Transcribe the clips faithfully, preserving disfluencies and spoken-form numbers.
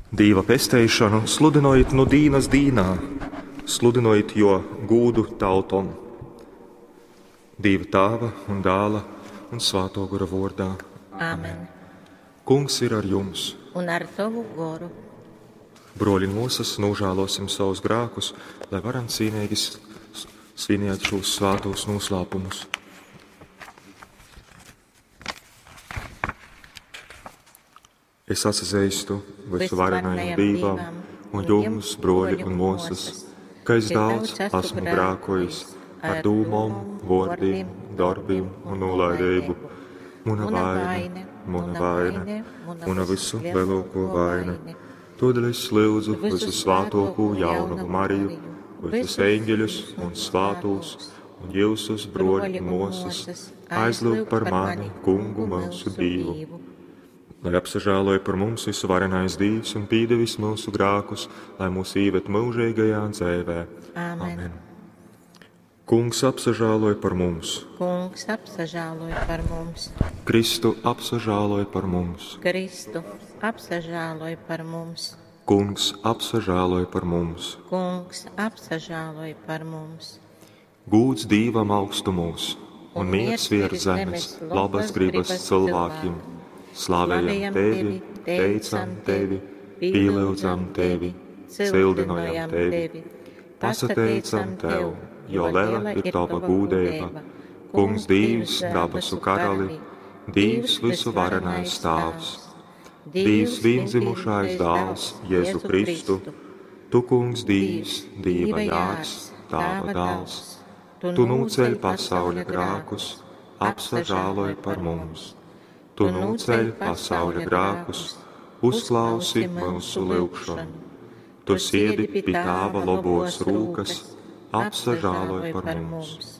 Dīva pesteišonu sludynojit nu dīnas dīnā, sludynojit jō gūdu tautom. Dīva Tāva un Dāla un Svātō Gora vōrdā. Āmen. Kungs ir ar jums. Un ar tavu goru. Brōļi un mōsas, nožēlosim savus grēkus, lai varam cīnīgi svinēt šos svētos noslēpumus. Es atzīstu visuvarenajam Dīvam un jums, broļi un mōsas, ka es daudz esmu grēkojis ar dūmom, vōrdim, darbim un nolaidību. Mana vaina, mana vaina, mana visu lielāko vaina. Todēļ es lūdzu visu svētāko jaunavu Mariju, visus eņģeļus un svētos, un jūsus, broļi un mōsas, aizlūgt par mani, Kungu mūsu Dievu. Lai apsažēloja par mums visuvarenais Dievs un pīdevis mūsu grēkus, lai mūs īved mūžīgajā dzīvē. Āmen. Amen. Kungs apsažēloja par mums. Kungs apsažēloja par mums. Kristu apsažēloja par mums. Kristu apsažēloja par mums. Kungs apsažēloja par mums. Kungs apsažēloja par mums. Gūds Dīvam augstumos un miers virs zemes, labas gribas cilvēkiem. Slavējam tevi, teicam tevi, pielūdzam tevi, cildinojam tevi, pasateicam tev, jo liela ir tava gūdība. Kungs Dievs, dabasu karali, Dievs visuvarenais Tēvs, Dievs vienzimušais dāls, Jēzu Kristu, tu Kungs Dievs, Dieva jārs, Tava dāls, tu nūceļ pasauļa grēkus, apsažāloj par mums. Tu nūceļ pasauļa grēkus, uzklausi mūsu lūgšanu. Tu siedi pie Tēva labos rūkas, apsažāloj par mums.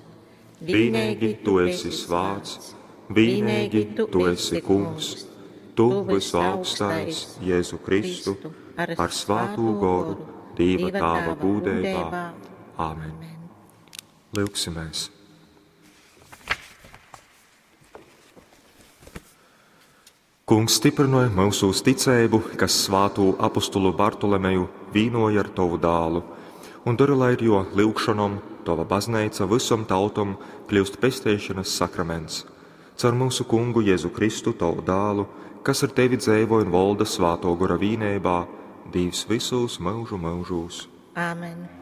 Vienīgi tu esi svāts, vienīgi tu esi kungs, tu visaugstais Jēzu Kristu, ar svātū goru, Dieva Tēva gūdībā. Āmen. Lūgsimies! Kungs stiprināja mūsu ticību, kas svātū apostulu Bartolomeju vīnoja ar tavu dālu, un dara, lai ar jo lūgšanom tava baznīca visom tautom kļūst pesteišanas sakraments. Caur mūsu kungu Jēzu Kristu, tavu dālu, kas ar tevi dzēvo un valda svāto gora vīnībā, Dievs visos mūžu mūžos. Āmen.